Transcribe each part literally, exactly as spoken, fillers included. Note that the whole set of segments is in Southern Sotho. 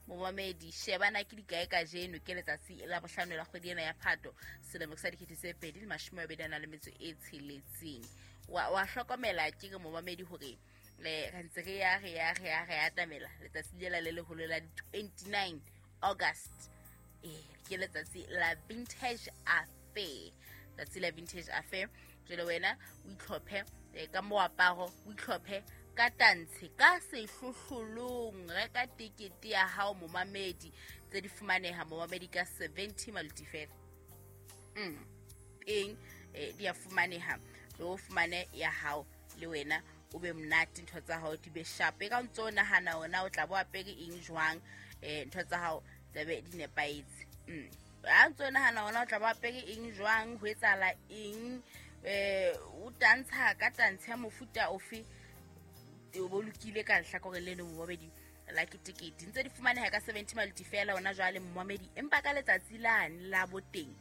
Momamedi, shebana ke dikae kajeno? Ke letsatsi la bohlano la kgwedi ena ya Phato, selemo sa dikete tse pedi le mashome a mabedi a nang le metso e tsheletseng. Wa wa hlokomela ke re, momamedi, hore eh re ntse re ya re ya re ya re atamela letsatsi lela le leholo la di twenty-nine August. Eh ke letsatsi la Vintage Affair, tsatsi la Vintage Affair. Jwale wena o itlhophe eh, ka moaparo, o itlhophe ka tantshe, ka sehlohlolong. Reka tekete ya hao, momamedi. Tse di fumaneha, momamedi, ka seventy maluti fela. mm. Eng eh, di a fumaneha, le o fumane ya hao, le wena o be monate, ntho tsa hao di be sharp. E ka ntse o nahana ona o tla bo apere eng jwang, eh ntho tsa hao tsabe di nepahetse. mm. Ha ntse o nahana ona o tla bo apere eng jwang, ho etsahala eng, eh o tantsha ka tantshe ya mofuta ofe, o bo lokile ka lehlakoreng le leng, momamedi, la ketekete. Ntse di fumaneha ka seventy maluti fela ona jwale, momamedi, empa ka letsatsi lane la boteng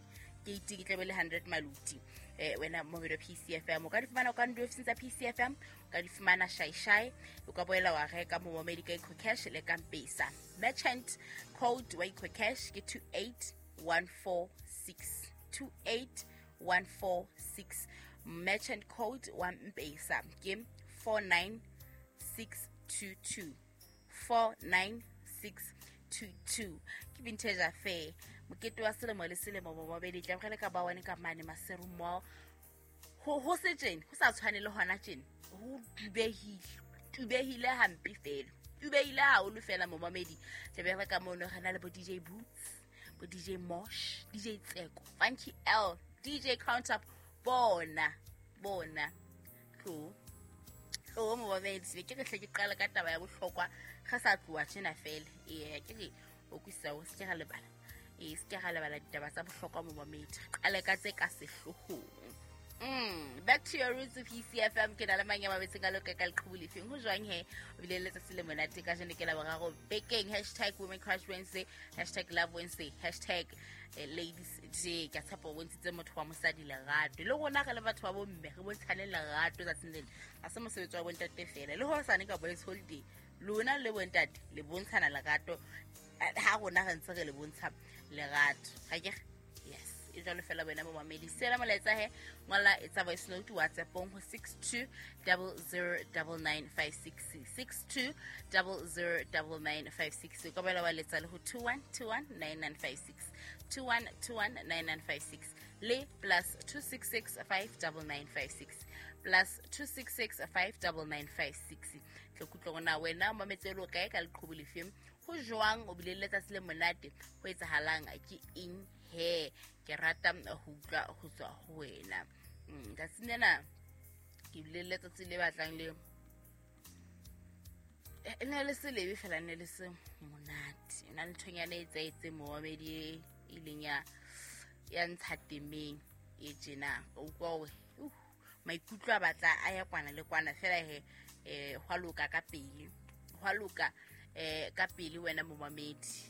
keiti ke tlabe le hundred maluti. eh wena momamedi wa P C F M, o ka di fumana ka di ofising tsa P C F M, o ka di fumana Shaishai, o ka boela wa reka, momamedi, ka EcoCash le ka Mpesa. Merchant code wa EcoCash ke two eight one four six, two eight one four six. Merchant code wa Mpesa ke four nine six two two, four nine six two two. Ke Vintage Affair, mokete wa selemo le selemo, momamedi. Tla ka ba one ka mane Maseru Mall. ho ho se tjena ho sa tshwane le hona tjena, ho tubehile, tubehile hampe fela, tubehile haholo fela, momamedi. Tlabe re ka mono re na le bo D J Boots, bo D J Mosh, D J Tseko, Funky L, D J Count Up. Bona bona, tlo tlo, momamedi. Be ke re hle ke qale ka taba ya bohlokwa re sa tloha tjena fela. Ee, ke re o kwisisa o se ke ra lebala, ee, se ke ra lebala ditaba tsa bohlokwa, momamedi. Re qale ka tse ka sehloohong. Mm, back to your roots, P C F M. Ke na le mang ya mabetseng ka loka ka leqhubu lefeng? Ho jwang he? O bile le letsatsi le monate kajeno ke la boraro bekeng. Hashtag women crush Wednesday, hashtag love Wednesday, hashtag eh, ladies day. Ke a tshepa o bontshitse motho wa mosadi lerato. Le rona re le batho ba bomme re bontshane lerato tsatsing lena. Ha se mosebetsi wa bontate fela. Le hosane ka boys holiday, lona le bontate le bontshana lerato ha rona re ntse re le bontsha lerato. Ga ke yes, e jwalo fela. Wena momamedi, sela molaetsa he, ngola, etsa voice note WhatsAppong ho six two double zero double nine five six, six two double zero double nine five six. O ka boela wa letsa le ho two one two one nine nine five six, two one two one nine nine five six, le plus two six six five double nine five six, plus two six six five double nine five six. Tle kutlwe gona wena o mametse le o kae, ka leqhubu lefeng, ho jwang, o bile le letsatsi le monate, ho etsahalang, ke eng he? Ke rata ho utlwa ho tswa ho wena. Mm, tsatsing lena ke bile le letsatsi le batlang le e ne le se lebe fela, ne le se monate. E na le nthonyana e etsaetseng, momamedi, e ileng ya ya ntsha temeng e tjena. O utlwa hore uh, maikutlo a batla a ya kwana le kwana fela he. um hwa loka ka pele, hwa loka um ka pele, wena momamedi.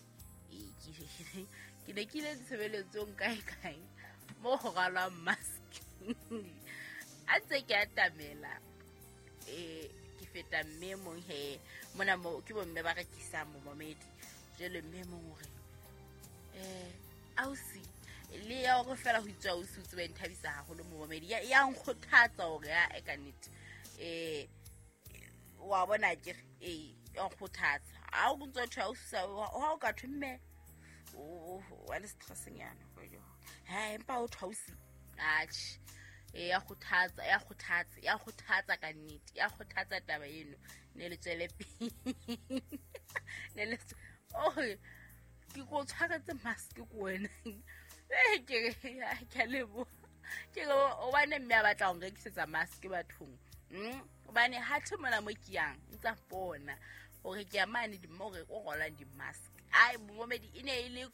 Ee, ke ke ne ke ile ditshebeletsong kae kae mo ho ralwang mask. A ntse ke atamela, um ke feta mme mong he mona mo ke bomme ba rekisang, momamedi. Jwale mme mong hore um ausi, le ya hore fela ho itswa ausi, o tsebe nthabisa haholo, momamedi. Ya ya nkgothatsa hore ya e ka nnete, um wa bona akere, ee, ya nkgothatsa. Ha o ntso thwe ausi, ha o ka thwe mme o wa le stressnyana ha, empa o thwe ausi, atjhe, e ya kgothatsa, ya kgothatsa, ya kgothatsa ka nnete, ya kgothatsa taba eno. Ne le tswele pele, ne le oh ke ko tshwaretse mask ko wena. Eh, ke re ke a leboha, ke re hobane mme a batla ho nrekisetsa mask bathong. mm hobane ha the mona mo ke yang ntsa bona hore ke ya mane di mo re o rolang di-mask. Ai, momamedi, e ne e le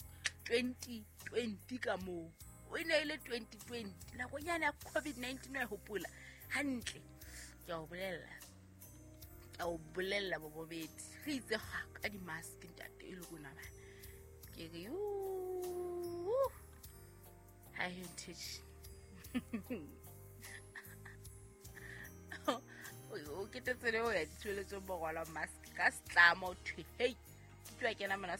twenty twenty ka moo, e ne e le twenty twenty, nakonyana ya COVID nineteen, wa e hopola hantle. Ke a o bolella, ke a o bolella, bobobedi, re itse ga ka di-mask ntate e le rona bana. Ke re yu ha heritage o ketetse le ho ya ditshebeletsong bo rwalwa mask ka setlamo. Thwe hei, ke tloha kena mona.